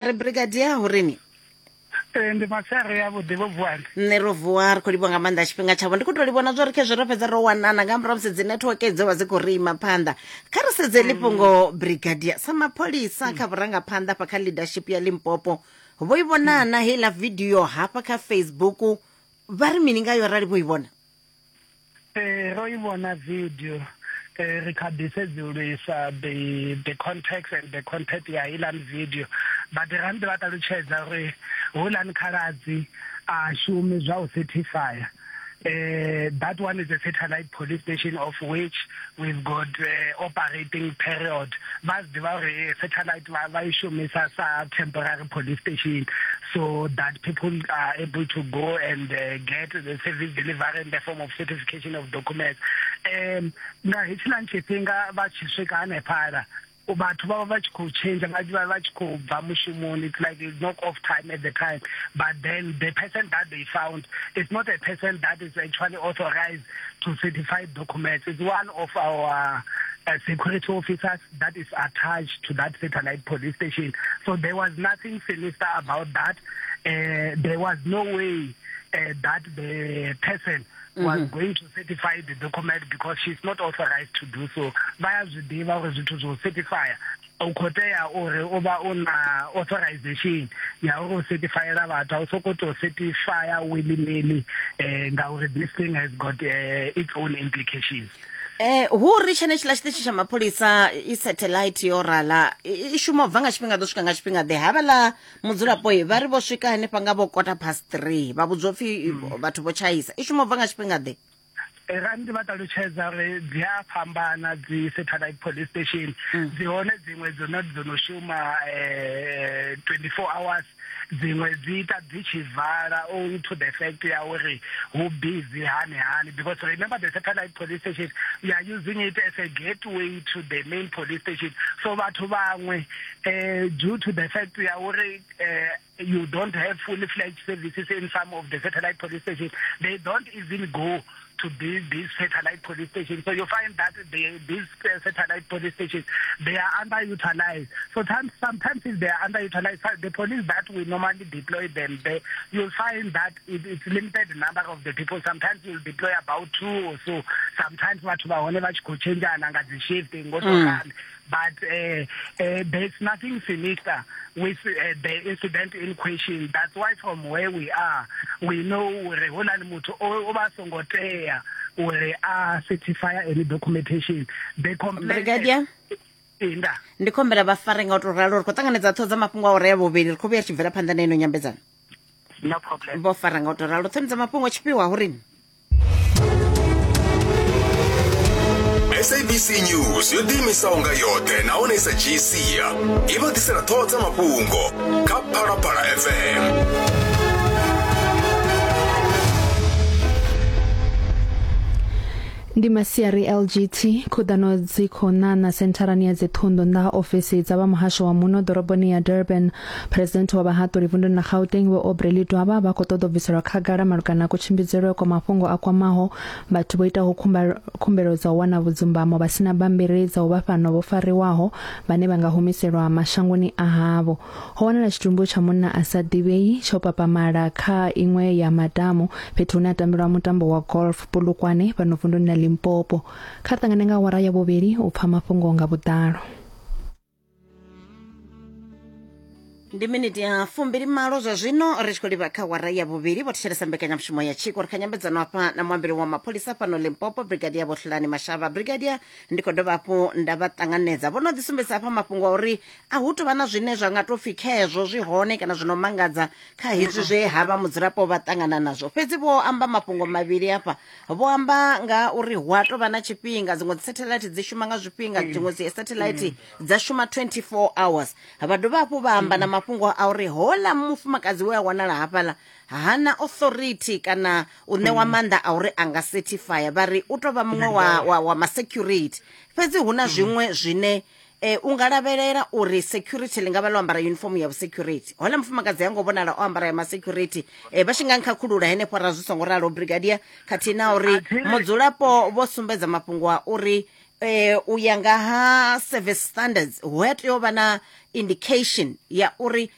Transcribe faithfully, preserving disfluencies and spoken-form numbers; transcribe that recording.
Ri brigadier hurini? Ee, ndi masiari ya vhuḓi vho vuwani. Nṋe ro vuwa, ri khou livhuwa nga maanḓa tshifhinga tshavho. Ndi khou tou livhona zwo ri khezwo ro fhedza ro wanana nga murahu musi dzi network dzo vha dzi khou ri ima phanḓa. Kha ri sedze ḽifhungo brigadier sa mapholisa kha vhurangaphanḓa hafha kha leadership ya Limpopo, vho i vhonana heiḽa video hafha kha Facebook, vha ri mini ngayo arali vho i vhona? Ee, ro i vhona video. Eh, ri kha ḓi sedzulusa the the context and the content ya heiḽani video, but ra ndi vha ṱalutshedza uri houḽani khaladzi a shumi zwa u certify. Uh, that one is a satellite police station of which we've got uh, operating period. Vha zwi ḓivha uri satellite vha vha i shumisa sa temporary police station so that people are able to go and uh, get the service delivery in the form of certification of documents. Um, nga hetshiḽani tshifhinga vha tshi swika hanefhaḽa, vhathu vha vha vha tshi khou change, vha vha vha tshi khou bva mushumoni. It's like it's knock off time at the time, but then the person that they found is not a person that is actually authorized to certify documents. It's one of our uh, security officers that is attached to that satellite police station. So there was nothing sinister about that. Uh, there was no way uh, that the person was mm -hmm. going to certify the document because she's not authorized to do so. Vha ya zwi ḓivha uri zwithu zwo certify u khou tea uri u vha u na authorization ya uri u certifyela vhathu, a u sokou tou certifya willy-nilly, eh, ngauri this thing has got uh, its own implications. Eh, hu ri tshenetshiḽa tshiṱitshi tsha mapholisa i satellite yo rala i shuma u bva nga tshifhinga ḓo swika nga tshifhinga ḓe? Havhaḽa mudzulapo vha ri vho swika hanefha nga vho quarter past three, vha vhudzwa upfhi vhathu vho tshaisa. I shuma u bva nga tshifhinga ḓe? Ra ndi vha ṱalutshedza uri dzi a fhambana dzi satellite police station. Dzi hone dziṅwe dzo no dzo no shuma twenty four hours, dziṅwe dzi ita dzi tshi vala owing to the fact ya uri hu busy hani hani, because remember the satellite police station, we are using it as a gateway to the main police station. So vhathu vhaṅwe, eh, due to the fact ya uri eh, you don't have fully fledged services in some of the satellite police stations, they don't even go to these, these satellite police stations. So you find that they, these uh, satellite police stations, they are underutilized. So times, sometimes if they are underutilized, the police that we normally deploy them, they, you'll find that it, it's limited number of the people. Sometimes you'll deploy about two or so. Sometimes vhathu vha hone vha tshi khou tshenzhana nga dzi shift ngo to ralo. But uh, uh, there's nothing sinister with uh, the incident in question. That's why from where we are, we know uri houḽani muthu o vha songo tea uri a certify any documentation. The complaint Brigadier Inda. Ndi khombela vha fare nga u tou ralo, ri khou ṱanganedza ṱhoho dza mafhungo a ure ya vhuvhili, ri khou vhuya ri tshi bvela phanḓa na ino nyambedzano. No problem. Vho fara nga u tou ralo. Ṱhoni dza mafhungo tshifhiwa hurini? S A B C News yo ḓiimisaho nga yoṱhe nahone i sa dzhii sia, i vha ḓisela ṱhoho dza mafhungo kha Phalaphala F M. Ndi masiari L G T khuḓano dzi khou ṋaṋa sentharani ya dziṱhunḓu nnḓa ha ofisi dza vha muhasho wa muno ḓoroboni ya Durban. President wa vhahaṱuli vunduni ḽa Gauteng Vho Aubrey Ledwaba vha khou ṱoḓa u bviselwa khagala malugana na kutshimbidzelwe kwa mafhungo a kwamaho vhathu vho itaho khumbelo dza u wana vhudzumbamo vha sina bammbiri dza u vha fhano vho fariwaho vhane vha nga humiselwa mashangoni a havho. Ho wanala tshitumbu tsha munna a sa ḓivhei tsho papamala kha iṅwe ya madamu fhethu hune ha tambelwa mutambo wa golf Polokwane fhano vunduni ḽa Limpopo. Kha ṱangane nga awara ya vhuvhili u pfa mafhungo nga vhuḓalo. Ndi miniti ya fumbili malo zwa zwino ri tshi khou livha kha awara ya vhuvhili. Vho thetshelesa mbekanyamushumo ya Tshiko. Ri kha nyambedzano hafha na muambeli wa mapholisa fhano Limpopo, Brigadier Vho Hlulani Mashaba. Brigadier, ndi khou dovha hafhu nda vha ṱanganedza. Vho no ḓi sumbedzisa hafha mafhungo a uri a hu tou vha na zwine zwa nga tou pfi khezwo zwi hone kana zwino mangadza kha hezwi zwe ha vha mudzulapo vha ṱangana nazwo. Fhedzi vho amba mafhungo mavhili hafha. Vho amba nga uri hu a tou vha na tshifhinga, dziṅwe dzi satellite dzi shuma nga zwifhinga, dziṅwe dzi satellite dza shuma twenty four hours. Vha dovha hafhu vha amba na mafhungo a uri hola mufumakadzi we a wanala hafhaḽa hana authority kana u ṋewa maanḓa a uri a nga certify, vha ri u tou vha muṅwe wa, wa, wa ma security. Fhedzi hu na zwiṅwe zwine eh, u nga lavhelela uri security ḽi nga vha ḽo ambara uniform ya security. Hola mufumakadzi ha ngo vhonala o ambara ya ma security, eh, vha tshi nga nkhakhulula henefho ra zwi songo ralo Brigadier, khathihi na uri mudzulapo vho sumbedza mafhungo a uri eh u ya nga ha service standards, hu a tea u vha na indication ya uri